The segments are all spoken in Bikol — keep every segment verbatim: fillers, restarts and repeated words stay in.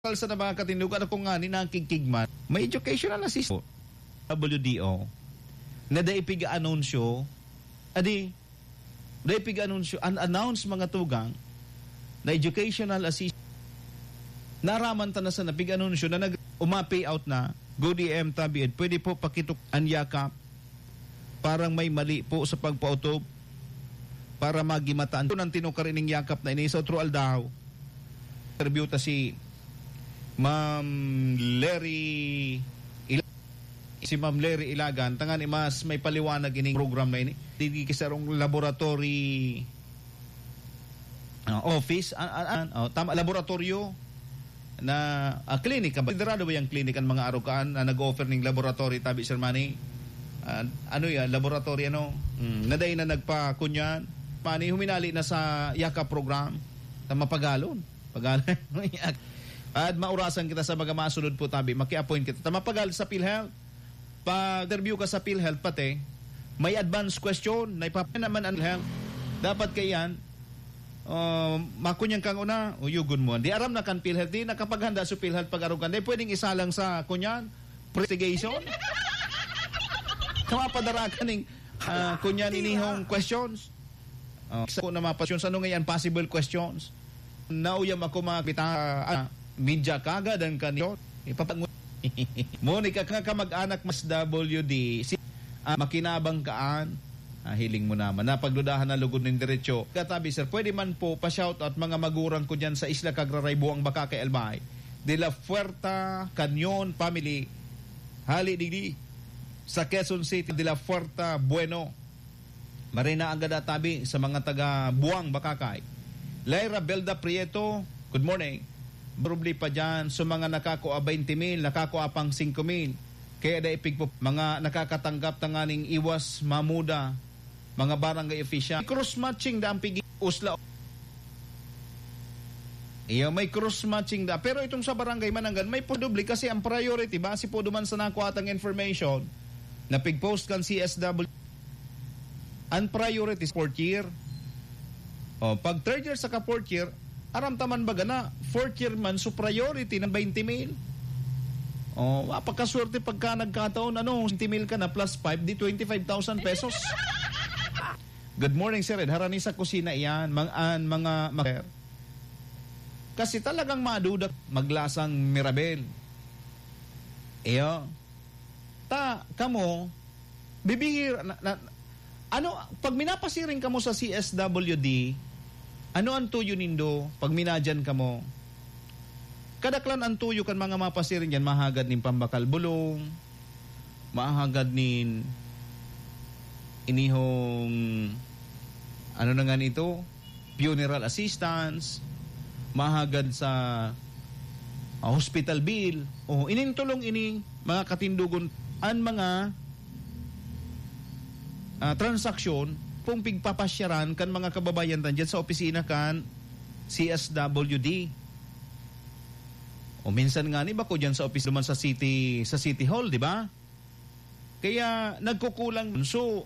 Sa na mga katindog, ano kung nga ni nakikigman, may educational assistance, W D O, na dai pig-anunsyo, adi, dai pig-anunsyo, unannounced mga tugang na educational assistance. Naraman ta na sa napig-anunsyo na nag-, uma-pay out na, Good A M tabi, pwede po pakitok an yakap. Parang may mali po sa pagpautob para magimataan. Kung ang tinukar ining yakap na ini sa otro aldaw, interview ta si Ma'am Larry Ila-, si Ma'am Larry Ilagan, tangani mas may paliwanag ining program na ini. Digdi ki sarong laboratory, ah, office, an, an, an, oh, tama, laboratoryo na, ah, klinika ba? Konsiderado ba yang klinika ang mga arukaan na nag-offer ning laboratory, tabi, Sir Manny? Ah, ano yan? Laboratory, ano? Hmm, na dai na nagpakunyan. Manny, huminali na sa yaka program. Sa mapagalon. Pagalon. At maurasan kita sa mga masunod po, tabi. Maki-appoint kita. Ta mapagal sa PhilHealth. Pag-interview ka sa PhilHealth, pati, may advance question na ipap-, naman ang PhilHealth. Dapat kaiyan, uh, makunyan kang una, uyugon mo. Di aram na kan PhilHealth, di nakapaghanda sa PhilHealth pag-arugan. Di pwedeng isa lang sa kunyan, investigation. Kamapadara ka ning, ah, kunyan inihong questions. Oh, sa na mga questions, ano ngayon possible questions? Nauyam ako mga kapita, ah, media kagad ang kanyo. Ipapag-, Monica, ka kamag-anak mas W D, si, ah, makinabang kaan. Ah, hiling mo naman. Napagdudahan na lugod nin diretsyo. Katabi, sir, pwede man po pa-shoutout mga magurang ko dyan sa Isla Cagraray, Buang Bacacay, Albay. De la Fuerta, Canyon family. Hali digdi sa Quezon City, de la Fuerta, Bueno. Marina ang gada tabi sa mga taga Buang, Bacacay. Lyra Belda Prieto, good morning. Probably pa dyan, sa mga nakakua twenty mil, nakakua pang singko mil. Kaya da ipigpo-, mga nakakatanggap tanganing iwas mamuda, mga barangay official. Cross matching da ang pigi-, usla. Iyo, may cross matching da. Pero itong sa barangay Mananggan, may po doble kasi ang priority, base po duman sa nakuha tang information na pig-post kan C S W, ang priority is fourth year. O, pag third year saka fourth year, aram ta man baga na fourth year man, so priority ng twenty mil. O, mapakaswerte pagka nagkataon, ano, twenty mil ka na plus five, di twenty-five thousand pesos. Good morning, Sir Ed. Harani sa kusina iyan, mang-, an mga mak-, kasi talagang maduda, maglasang Mirabel. Iyo. Ta, kamo, bibihir, na, na, ano, pag minapasiring kamo sa C S W D, ano ang tuyo nindo pag minadyan kamo? Kadaklan ang tuyo kan mga mapasiring dyan, mahagad nin pambakal bulong, mahagad nin inihong, ano na nga nito, funeral assistance, mahagad sa, ah, hospital bill. O, inintulong ini, mga katindugon, an mga, ah, transaksyon kung pigpapasyaran kan mga kababayan tan dyan sa opisina kan C S W D. O minsan nga ni bako dyan sa opisina man sa city, sa City Hall, di ba? Kaya nagkukulang. So,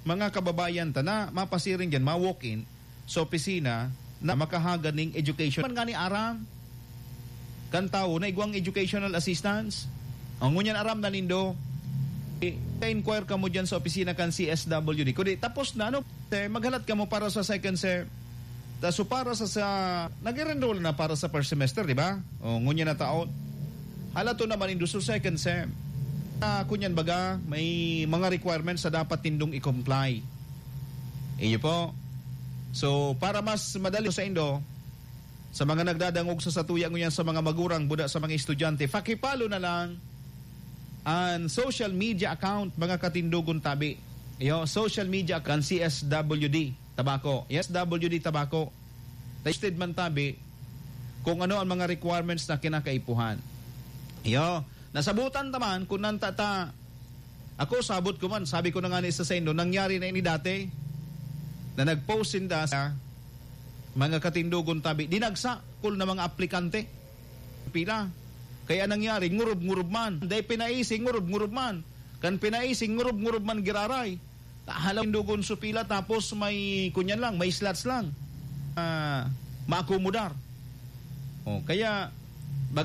mga kababayan ta na mapasiring dyan, ma-walk-in sa opisina na makahagad ning education. Man nga ni aram kan tawo na igwang educational assistance. Ang ngunyan aram na nindo, i-inquire kamo dyan sa opisina kan C S W D. Kundi tapos na, ano, eh, maghalat kamo para sa second sem. Ta, so para sa, sa, nag-enroll na para sa first semester, di ba? O, ngunyan na taon. Halaton naman indo sa second sem. Ah, kunyan baga, may mga requirements na dapat tindong i-comply. Iyo po. So, para mas madali sa indo, sa mga nagdadangog sa satuya ngunyan sa mga magurang, buda sa mga estudyante, pakipalo na lang ang social media account, mga katindogon tabi. Iyo, social media account, C S W D. Tabaco. Yes, W D Tabaco. Listed man tabi kung ano ang mga requirements na kinakaipuhan. Iyo, nasabutan ta man kung nanta ta. Ako, sabot ko man, sabi ko na nga ni sa saindo, nangyari na ini dati na nag-post sinda sa mga katindogon tabi. Dinagsa, kul na mga aplikante. Pila. Kaya nangyari, ngurub-ngurub man. Dai pinaisi, ngurub-ngurub man. Kan pinaisi, ngurub-ngurub man giraray. Halaw dugon sa pila, tapos may, kunyan lang, may slots lang. Ah, maakomodar. Oh, kaya,